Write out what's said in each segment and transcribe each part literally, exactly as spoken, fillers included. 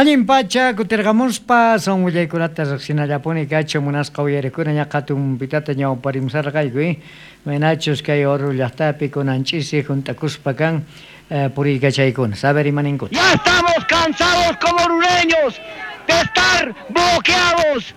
Allin pacha kutirqamuspa son willaykunata riqsinallapuni kachu munasqa uyarikuna ña qhatumpitata ñawparimusarqayku eh Imaynachus kay Oruro llaqtapi kunan ch'isi hunt'akuspa kan eh, puriykachaykuna saber imaninkuta. Ya estamos cansados como orureños de estar bloqueados.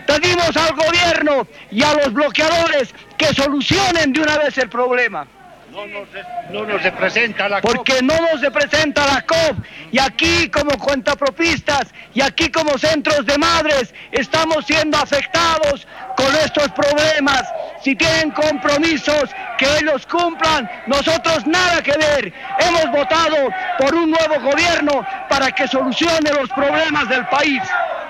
Pedimos al gobierno y a los bloqueadores que solucionen de una vez el problema. No nos, no nos representa la C O P. Porque no nos representa la C O P. Y aquí como cuentapropistas y aquí como centros de madres estamos siendo afectados con estos problemas. Si tienen compromisos, que ellos cumplan. Nosotros nada que ver. Hemos votado por un nuevo gobierno para que solucione los problemas del país.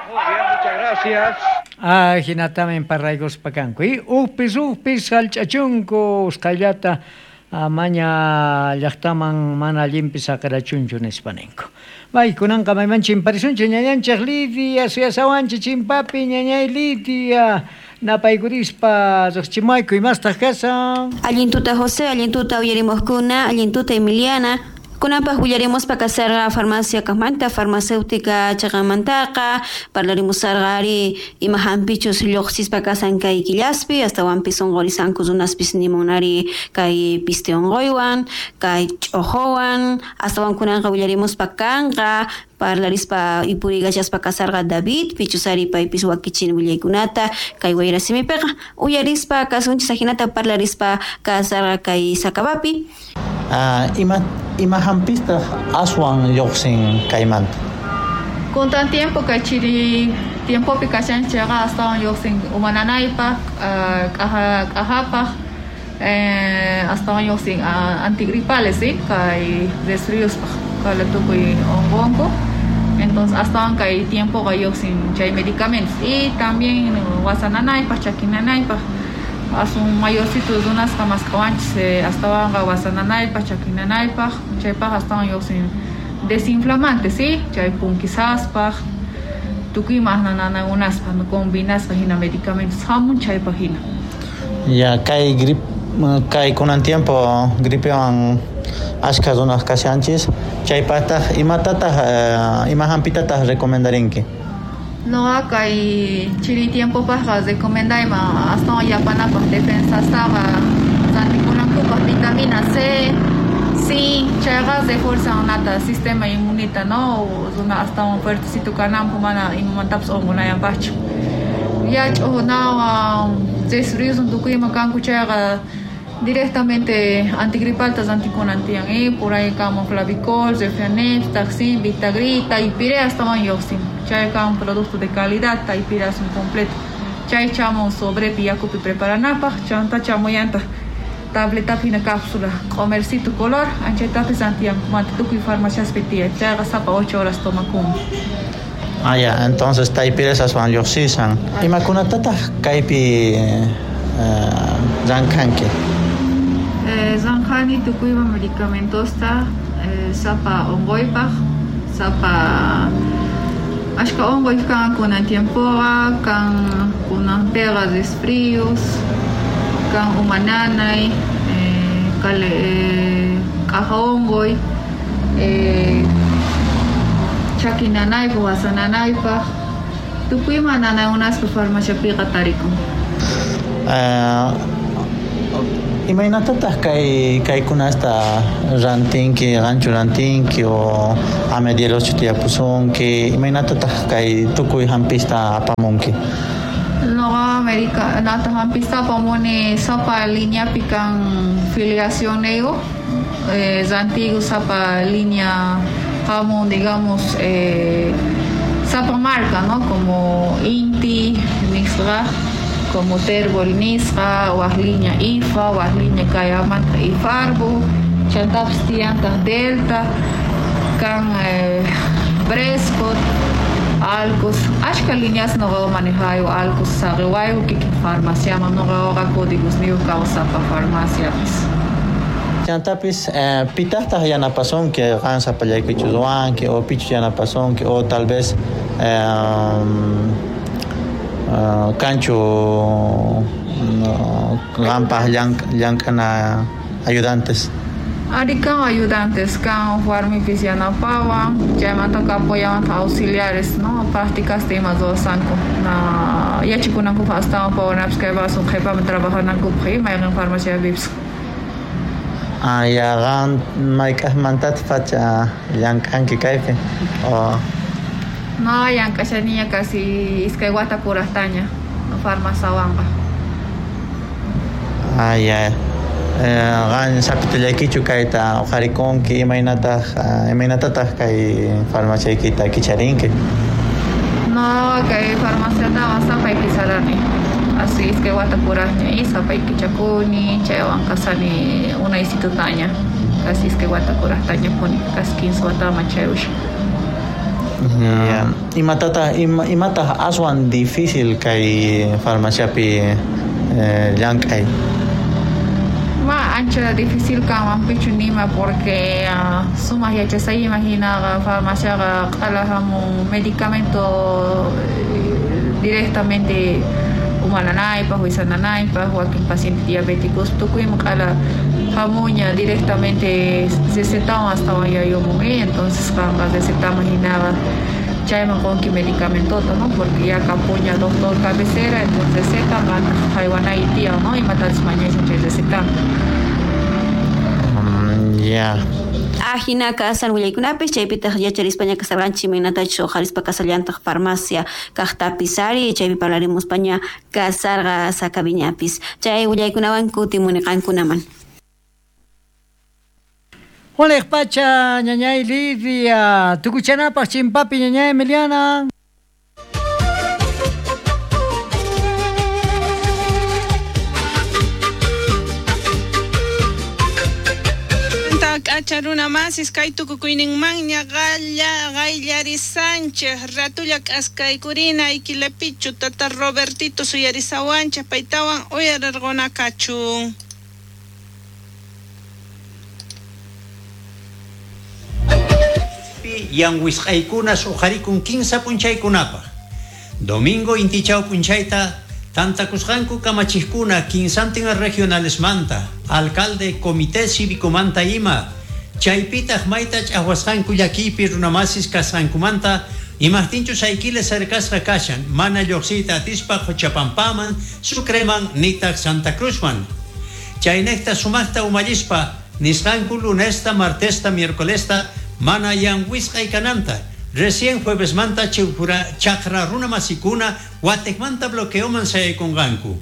Muy bien, muchas gracias. Ah, hinatamen parrayguspa kanku. Y ujpis ujpis hallch'achunku usqhayllata amaña llaqtaman mana allinpi saqirachunchu nispa ninku. Bay, kunanqa mayman chimparisunchik ñañanchik Lidia, suyasawanchik chimpapi ñañay Lidia. Napaykurispa riqchimayku imastaq kasan. Allin tuta José, allin tuta uyarimuqkuna, allin tuta Emiliana. Kunanpaq willaremos pa kasarqa farmacia kaqmanta, farmacéutica chaqamantaqa, parlarimus sarqa ari ima hampichus lluqsispa kasan kay killaspi, astawanpis unqurisanku runaspis nimunari kay piste unquywan, kay ch'uquwan, astawan kunanqa willarimus pa kanqa, parlarispa ipurigachaspa kasarqa David, pichus ari paypis wakichin willaykunata, kay wayrasimipiqa, uyarispa kasunchis ajinata parlarispa kasarqa kay Sakabapi. Ah, ima, ima hampista aswan lluqsin kaymanta? Kuntan tiempo kay chiri tiempopi kashanchayqa astawan lluqsin umananaypaq, ah, k'aja, k'ajapaq, eh, astawan lluqsin, ah, antigripales, ¿sí? Kay resfriuspaq, kay tukuy unqunku. Entonces astawan kay tiempoqa lluqsin chay medicamentos y también wasananaypaq, chakinanaypaq. Asun mayorcito runasqa mask'awanchis, eh, astawanqa wasananaypaq, chakinanaypaq, chaypaq astawan lluqsin desinflamante, ¿sí? Chay punkisaspaq, tukuy ima nanaykunaspa, no combinasqa hina medicamentos hamun chaypaq hina. Ya, kay grip, kay kunan tiempo gripewan ashka runas kashanchis, chaypaqtaq imatataq, eh, ima hampitataq recomendarinki? Noqa kay chiri tiempopaqqa recomendayman astawan yapanapaq defensastaqa rantikunankupaq vitamina C, zinc, chayqa refuerzan nata sistema inmunita, ¿no? Runa astawan fuertecito kananpaq mana imamantapas unqunayanpaqchu. Ya ch'uqunawan resfriusun tukuy ima kanku chayqa directamente antigripalta rantikunan tiyan, eh? Por ahí kamo Flavicol, Refrianeps, Taxin, Vitagrita, Ipire astawan lluqsin. Chay kan producto de calidad, Taipira un completo. Chay chamo sobre yakupi preparanapaq, chanta chamoyanta tableta fina cápsula, comercito color, anchaytapis antiyankumanta tukuy farmaciaspi tiyan. Chayqa sapa ocho horas tomakun. Ah, ya, entonces Taipira aswan lluqsisan. Imakunatataq kaypi, eh, llamk'anki? Eh, llamk'ani tukuy ima medicamentosta, eh, sapa unquypaq, sapa ashka unquy kan kunan tiempoqa, kan kunanpiqa resfrios, kan umananay, eh, kale, eh, k'aja unquy, eh, chakinanaypaq, wasananaypaq, tukuy ima nanaykunaspa farmaciapiqa tarikun. Eh, imaynatataq kay, kaykunasta rantinki, qanchu rantinki o amedielochu tiyapusunki, imaynatataq kay tukuy hampista apamunki? Noqa América, nata hampista apamuni sapa lineapi kan filiacionniyuq, eh, rantiku sapa linea hamun, digamos, eh, sapa marca, ¿no? Como Inti, nisqa, como Terbol nisqa, waj linea I F A, waj linea kayamanta Ifarbo, chantapis tiyantaq Delta, kan, eh, Brescot, Alcos, ashka lineas noqa manejayo, Alcos saqiwayku kikin farmaciaman, noqa códigos niyuq kawsapa farmaciapis. Chantapis, eh, pitaqtaq yanapasunki qan sapallaykichu ruwanki o pichu yanapasunki o tal vez, eh, eh, kanchu, no, qanpaq llank-, llank'ana ayudantes. Ari kan ayudantes kan warmipis yanapawan chaymantaka apoyawan auxiliares no prácticas ima ruwasqanku na yachikunankupaq astawan pawanapis kay vaso qhipaman trabajanankupaq mayqin farmaciapipis. Ah, ya qan mayk'aqmantataq pacha llank'anki kaypi o No, llank'ashaniña casi iskay wata kuraqtaña farmaciawanqa. Ah, ya. Qan sapitullaykichu kayta uqharikunki imaynataq imaynatataq kay farmaciaykita kicharinki? No, kay farmaciataqa sapay kicharani. Así iskay wata kuraqña y sapay kichakuni, chaywan kasani unaysitutaña. Casi iskay wata kuraqtaña puni, casi quince wataman chayushan. Yeah. Imatataq ima, imataq aswan difícil kay farmaciapi eh, llank'ay? Ma ancha difícil kanman pichu nima porque uh, sumaq yachasayman hinaqa farmaciaqa q'ala hamun medicamento directamente umananaypaq wisananaypaq wakin paciente diabéticos tukuyman q'ala hamuña directamente recetawan astawan yayumun entonces qanqa recetaman hinaqa chayman qunki medicamentota no porque ya kapuña doctor cabecera entonces receta qantaq haywanay tiyan no imatachus mañashan chay recetanta. Mm, ya. Ajina kasan willaykunapis chaypitaq yacharispaña kasarqanchik imaynatachus uqharispa kasallantaq farmacia kaqtapis ari chaypi parlarimuspaña kasarqa sakaviñapis chay willaykunawan kutimuni qankunaman. Juanej pacha ñañay Lidia, tukuchanapaq chimpapi ñañay Emiliana. K'acha runa masis kay tukukuyninmanña qalla qayllarisanchej ratulla k'askaykurina Aykilepichu tata Robertito suyarisawanchej paytawan uyarirqunakachun. Yanwisqaykunas uqharikun kinsa p'unchaykunapaq. Domingo intichaw p'unchayta tantakusqanku kamachiqkuna kinsantin regionalesmanta, alcalde, comité cívicomanta ima, chaypitaq mayta ch'aqwasqanku llakiypi runamasis kasqankumanta imaqtinchus Ayquile cercasqa kashan mana lluqsiyta atispa Qochapampaman, Sucreman nitaq Santa Cruzman. Chaynejta sumaqta umallispa nisqanku lunesta, martesta, miércolesta mana yanwisqay kananta. Recién juevesmanta chaqra runa masikuna wateqmanta bloqueoman sayaykunqanku.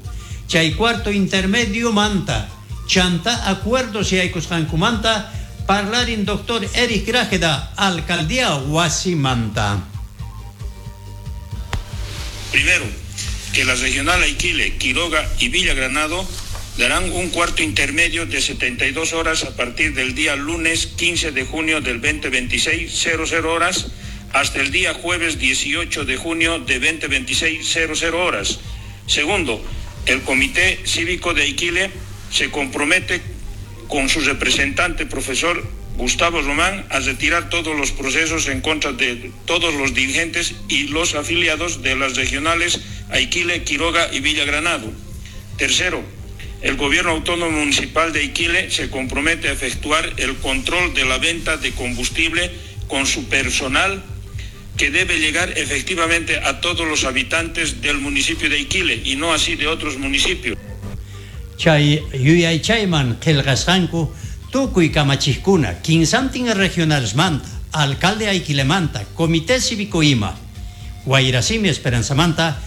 Chay cuarto intermedio manta chanta acuerdos yaykusqankumanta parlarin doctor Eric Grajeda, alcaldía Huasimanta. Primero, que la regional Aiquile, Quiroga y Villa Granado darán un cuarto intermedio de setenta y dos horas a partir del día lunes quince de junio del veinte veintiséis, cero cero horas, hasta el día jueves dieciocho de junio de veinte veintiséis, cero cero horas. Segundo, el Comité Cívico de Aiquile se compromete con su representante, profesor Gustavo Román, a retirar todos los procesos en contra de todos los dirigentes y los afiliados de las regionales Aiquile, Quiroga y Villa Granado. Tercero, el Gobierno Autónomo Municipal de Aiquile se compromete a efectuar el control de la venta de combustible con su personal, que debe llegar efectivamente a todos los habitantes del municipio de Aiquile y no así de otros municipios. Chay yuyaychayman qillqasqanku tukuy kamachiqkuna kinsantin regionalesmanta, alcalde Aiquilemanta, comité cívico ima, Guairasimi Esperanzamanta,